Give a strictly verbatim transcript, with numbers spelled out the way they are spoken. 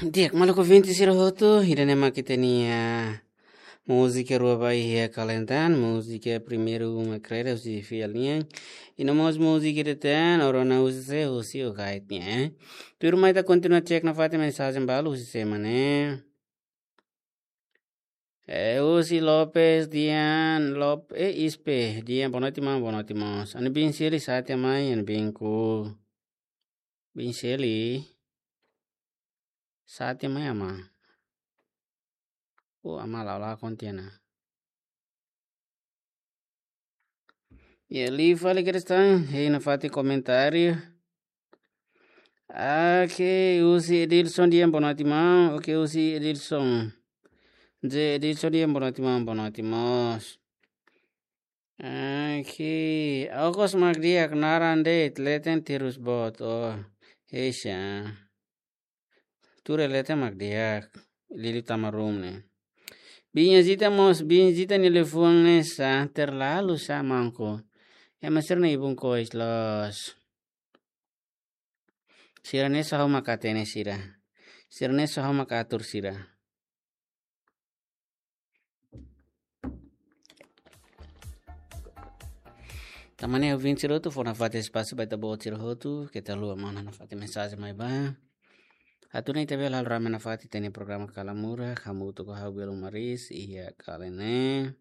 Di'ak, maluk ouvinte sira hotu, ida-ne'e mak ita-nia múzika rua ba iha kalen tan, múzika primeiru mak Kreda husi Fial nian, i no mós múzika ida tan, Orona husi sé, husi Ogait nian. Tuirmai ita kontinua cek nafatin mensajen balu husi sé mak ne'e. Eh, husi Lopes, Dian, Lop-, eh, Ispe, Dian, boa noite, maun, boa noite, mós. Ami bin Seli, sate mai, ami bin ku. Bin Seli. Sate mai, ama. Oh, ama la la kontiana. Ya, liu fali Kreda, hei nafatin komentáriu. Oke, husi Edilson Dian, boa noite, maun. Oke, husi Edilson. José Edilson Dian, boa noite, maun, boa noite, mós. Oke, okos mak di'ak, naran de'it, leten terus boot, oh, heisa. Tuir leten mak di'ak, liuliu tama ruma ne'e. Bin Zita mós, bin Zita nia liafuan ne'e sá, terlalu sá mangko. Ema sira-ne'e ibun kois loos. Sira-ne'e só ha'u mak hatene sira. Sira-ne'e só ha'u mak atur sira. Tan ne'e ouvinte sira hotu, fó nafatin espasu ba ita-boot sira hotu, keta haluha manda nafatin mensajen mai ba. Atu nune'e ita bele halo rame nafatin ita-nia programa Kala Murak, hamutuk ho ha'u Belo Maris, iha kalen ne'e.